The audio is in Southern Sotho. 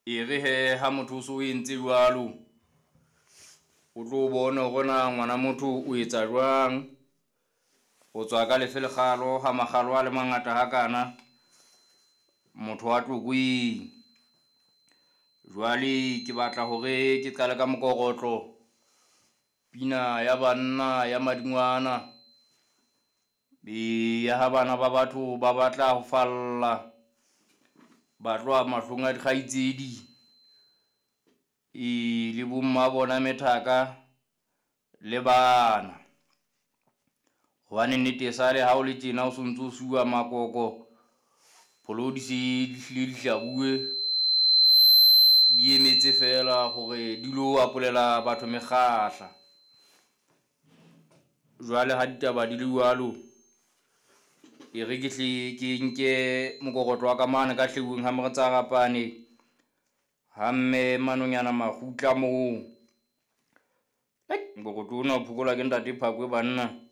E re he ha motho o so o entse jwalo, o tlo bona hore na ngwana motho o etsa jwang. O tswa ka lefe lekgalo ha makgalo a le mangata hakana, motho wa Tlokweng. Jwale ke batla hore ke qale ka mokorotlo, pina ya banna ya madingwana. E ya ha bana ba batho ba batla ho falla, ba tloha mahlong a dikgaitsedi e le bomma bona methaka le bana. Hobane nnete e sale ha o le tjena o sontso o suwa makoko, pholo di se di hlile di hlabuwe, di emetse fela hore di lo apolela batho mekgahla. Jwale ha ditaba di le jwalo, e re ke hle ke nke mokorotlo wa ka mane ka hleuweng ha moretsa rapane, ha mme manonyana makgutla moo. Mokorotlo ona o phokolwa ke ntate Phakwe banna.